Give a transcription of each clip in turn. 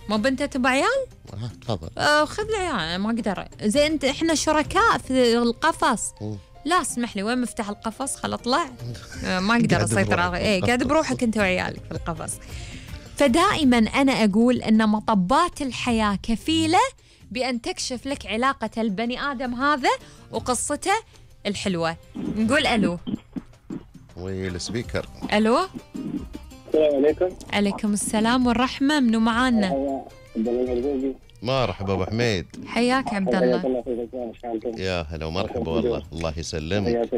مو بنت تبع عيال؟ تفضل. خذ العيال، أنا ما أقدر. زين أنت إحنا شركاء في القفص. لا اسمح لي، وين مفتاح القفص؟ خل أطلع. ما أقدر أسيطر على قاعد بروحك أنت وعيالك في القفص. فدائما أنا أقول أن مطبات الحياة كفيلة بأن تكشف لك علاقة البني آدم هذا وقصته الحلوة. نقول ألو. والسبيكر. ألو. السلام عليكم. عليكم السلام والرحمة. منو معانا؟ مرحبا ابو حميد. حياك عبد الله. يا هلا ومرحبا والله. الله يسلمك.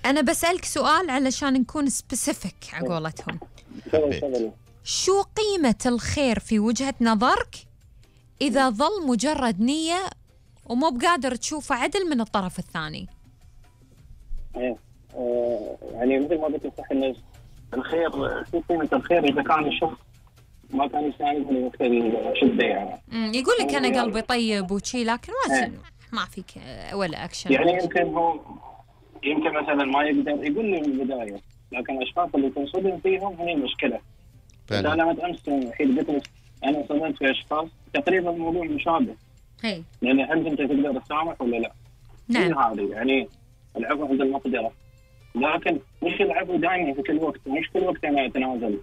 أنا بسألك سؤال علشان نكون سبيسيفيك على قولتهم. شو قيمة الخير في وجهة نظرك إذا ظل مجرد نية ومو بقادر تشوفه عدل من الطرف الثاني؟ يعني مثل ما قلت صح إن الخير، شو قيمة الخير إذا كان الشخص ما كان يساعدني وقت الشدة يعني. يقول لك أنا قلبي طيب وشي، لكن ما فيك ولا أكشن. يعني يمكن مثلا ما يقدر يقول لي من البداية، لكن الأشخاص اللي تنصدم فيهم هي المشكلة. أنا أمس الحين قلت لك أنا صدمت في أشخاص تقريبا الموضوع مشابه. يعني هل أنت تقدر تسامح ولا لا؟ نعم. هذه يعني العفو عند المقدرة، لكن مش العفو دائما في كل وقت، مش كل وقت أنا أتنازل.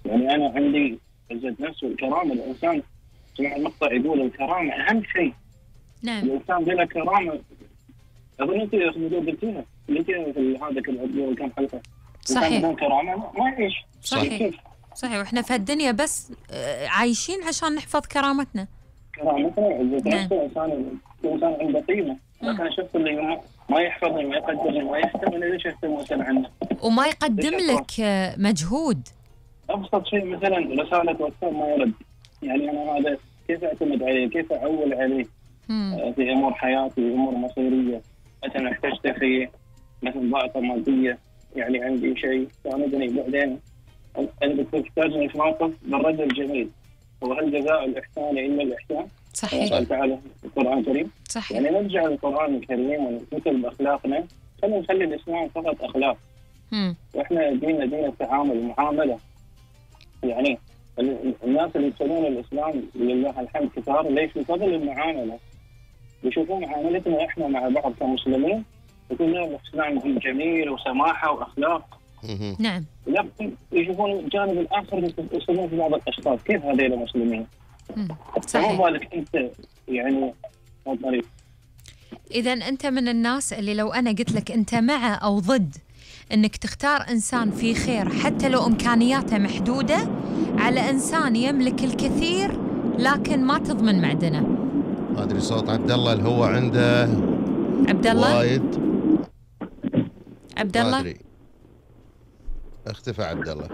يعني أنا عندي عزة نفس والكرامة. الإنسان سمع المقطع يقول الكرامة أهم شيء. نعم. الإنسان بلا كرامة، أظن أنت قلتيها في هذا كم حلقة. صحيح. بدون كرامة ما يعيش. صحيح. وإحنا في الدنيا بس عايشين عشان نحفظ كرامتنا. كرامتنا وعزة نفس. الإنسان عنده قيمة، لكن الشخص اللي ما يحفظني ما يقدرني ما يهتم، ليش يهتم مثلا عنه وما يقدم لك مجهود. أبسط شيء مثلا رسالة واتساب ما يرد. يعني أنا هذا كيف أعتمد عليه؟ كيف أعول عليه في أمور حياتي، أمور مصيرية؟ مثلا احتجت في مثلا ضائقة مادية، يعني عندي شيء ساندني بعدين أنا بتحتاجني في موقف بالرد الجميل. وهل جزاء الإحسان إلا الإحسان؟ صحيح. قال تعالى في القرآن الكريم. صحيح. يعني نرجع للقرآن الكريم ونمثل بأخلاقنا. خلينا نخلي الإسلام فقط أخلاق. وإحنا ديننا دين التعامل والمعاملة. يعني الناس اللي يدخلون الإسلام لله الحمد كثار، ليش؟ بفضل المعاملة. يشوفون معاملتنا إحنا مع بعض كمسلمين يقول لنا الإسلام جميل وسماحة وأخلاق. نعم. لكن يشوفون الجانب الآخر يستخدمون في بعض الأشخاص. كيف هذول المسلمين؟ صحيح. فما بالك أنت يعني طريق. إذا أنت من الناس اللي لو أنا قلت لك أنت مع أو ضد أنك تختار إنسان فيه خير حتى لو إمكانياته محدودة على إنسان يملك الكثير لكن ما تضمن معدنه. ما أدري صوت عبد الله اللي هو عنده عبد الله وايد. عبد الله ما أدري اختفى عبد الله.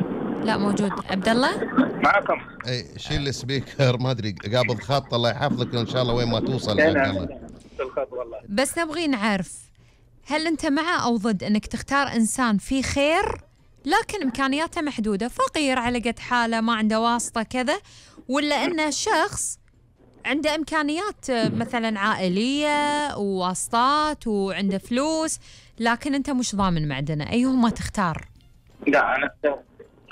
لا موجود عبد الله معكم. اي شيل السبيكر. ما ادري قابض خط. الله يحفظك ان شاء الله وين ما توصل عبد الله. بس نبغي نعرف هل انت مع او ضد انك تختار انسان فيه خير لكن امكانياته محدوده، فقير على قد حاله ما عنده واسطه كذا، ولا انه شخص عنده امكانيات مثلا عائليه وواسطات وعنده فلوس لكن انت مش ضامن معدنه؟ ايهما تختار؟ لا انا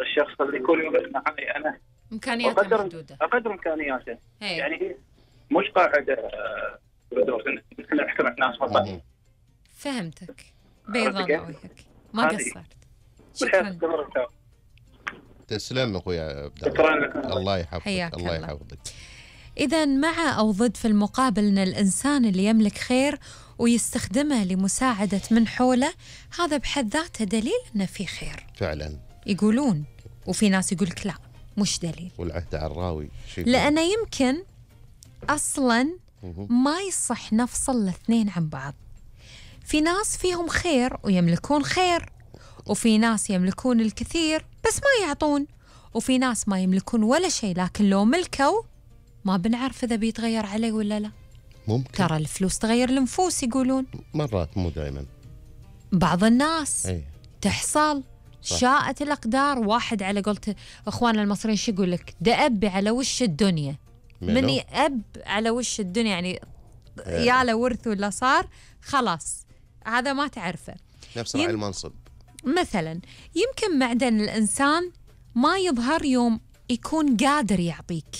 الشخص اللي يكون يوقف معي انا امكانياته محدوده، اقدر امكانياته. هي. يعني مش قاعده بدور احنا نحترم الناس فقط. فهمتك. بيض الله وجهك، ما قصرت. شكرا. تسلم اخوي عبد الله. الله يحفظك. الله يحفظك. إذا مع أو ضد في المقابل أن الإنسان اللي يملك خير ويستخدمه لمساعدة من حوله هذا بحد ذاته دليل أنه في خير فعلا يقولون، وفي ناس يقولك لا مش دليل. والعهد عراوي لأنه يمكن أصلا ما يصح نفصل الاثنين عن بعض. في ناس فيهم خير ويملكون خير، وفي ناس يملكون الكثير بس ما يعطون، وفي ناس ما يملكون ولا شيء لكن لو ملكوا ما بنعرف إذا بيتغير عليه ولا لا. ممكن. ترى الفلوس تغير النفوس يقولون. مرات مو دائما. بعض الناس تحصل صح. شاءت الأقدار. واحد على قولة إخواننا المصريين شو يقول لك؟ دأب على وش الدنيا. من يأب على وش الدنيا يعني يا له ورث ولا صار خلاص هذا ما تعرفه. نفس راعي المنصب مثلا. يمكن معدن الإنسان ما يظهر يوم يكون قادر يعطيك.